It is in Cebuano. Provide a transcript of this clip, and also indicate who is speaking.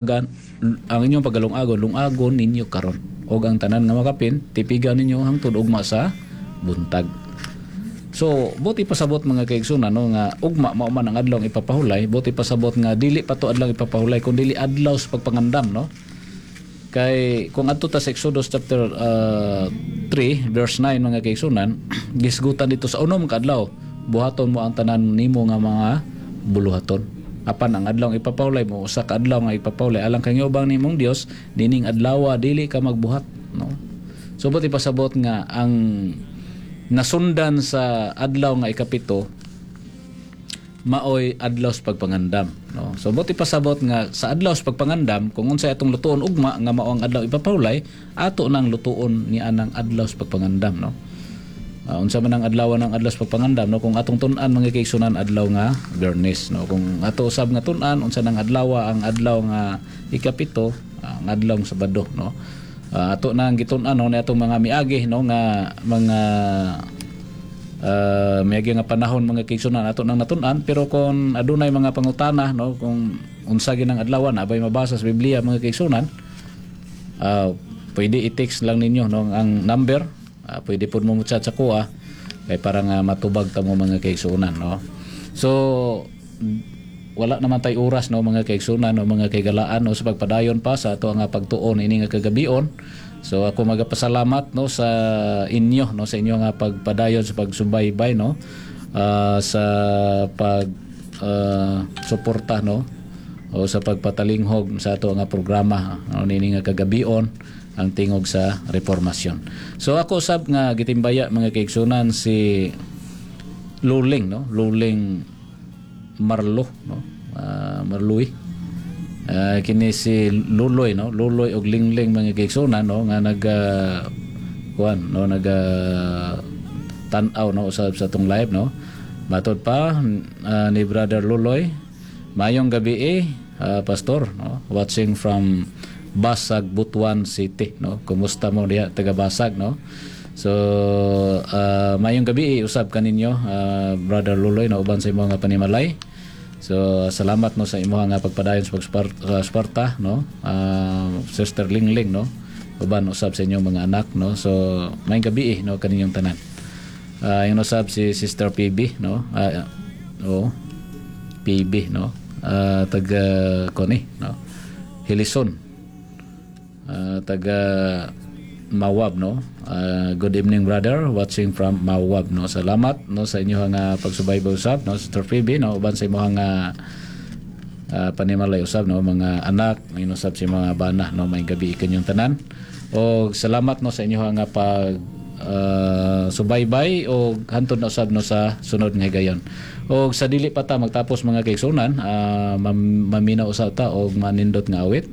Speaker 1: Ang inyong pagalungagon, lungagon ninyo karon, og ang tanan nga makapin, tipiga ninyo hangtod ugma sa buntag. So, buot ipasabot, mga kaigsunan, no, nga ugma mao man ang adlaw ang ipapahulay. Buot ipasabot nga dili pa to adlaw ipapahulay kun dili adlaw sa pagpangandam, no? Kay kung adto ta sa Exodus chapter 3 verse 9, mga kaigsunan, gisgutan dito sa 6 ka adlaw buhaton mo ang tanan nimo nga mga buluhaton. Apan ang adlaw ang ipapahulay mo usa ka adlaw nga ipapahulay alang kang ubang nimong Dios, nining adlaw dili ka magbuhat, no? So buot ipasabot nga ang nasundan sa adlaw nga 7 maoy adlaw sa pagpangandam, no? So buot ipasabot nga sa adlaw sa pagpangandam, kung unsay atong lutuon ugma nga mao ang adlaw ipapahulay, ato nang lutuon ni anang adlaw sa pagpangandam, no? Unsa man ang adlaw ng adlaw sa pagpangandam, no? Kung atong tun-an, mga kaigsunan, adlaw nga Biyernes, no? Kung ato usab nga tun-an unsa nang adlaw ang adlaw nga 7, ang adlaw nga Sabado, no? Ato nang gitun-an, no, ni atong mga miagi, no, nga mga miagi nga panahon, mga kaigsunan, ato nang natun-an. Pero kung adunay mga pangutana, no, kung unsa ginang adlawan, abay mabasa sa Biblia, mga kaigsunan, pwede i-text lang ninyo, no, ang number. Pwede pud mo mo-chat sa kuha kay para nga matubag ta mo, mga kaigsunan, no? So wala naman tay oras, no, mga kaigsunan, no, mga kaigalaan, no, sa pagpadayon pa sa ato nga pagtuon ini nga kagabion. So ako magapasalamat, no, sa inyo, no, sa inyo nga pagpadayon sa pagsubaybay, no, sa pag suporta, no, o sa pagpatalinghog sa ato nga programa, no, nini nga kagabion, ang Tingog sa Reformasyon. So ako sab nga gitimbaya, mga kaigsunan, si Luling, no, Luling Marlo, no, Marluy. Kini si Luloy, no, Luloy og Lingling, mga kaigsunan, no, nga nag kuan, no, nag tan-aw, no, usab sa atong live, no? Matod pa ni Brother Luloy, "Mayong gabi eh, pastor," no, watching from Basag, Butuan City, no? Kumusta mo diha taga Basag, no? So mayong gabi eh, usab kaninyo, Brother Luloy, no, uban sa imong nga panimalay. So salamat, no, sa imong nga pagpadayon sa pagsuporta, no, Sister Lingling, no, uban usab sa inyong mga anak, no? So mayong gabi eh, no, kaninyong tanan. Yung usab si Sister PB, no, oh, PB, no, taga koni, no, Hilison, taga Mawab, no? Good evening, brother, watching from Mawab, no? Salamat, no, sa inyong nga pagsubaybay usab, no, Sister PB, no, uban sa imong nga panimalay usab, no, mga anak, usab sa mga bana, no? May gabi kanyong tanan o salamat, no, sa inyong nga pag subaybay o hantod na usab, no, sa sunod nga higayon. Og sa dili pa ta magtapos, mga kaigsunan, maminaw usab ta og manindot nga awit.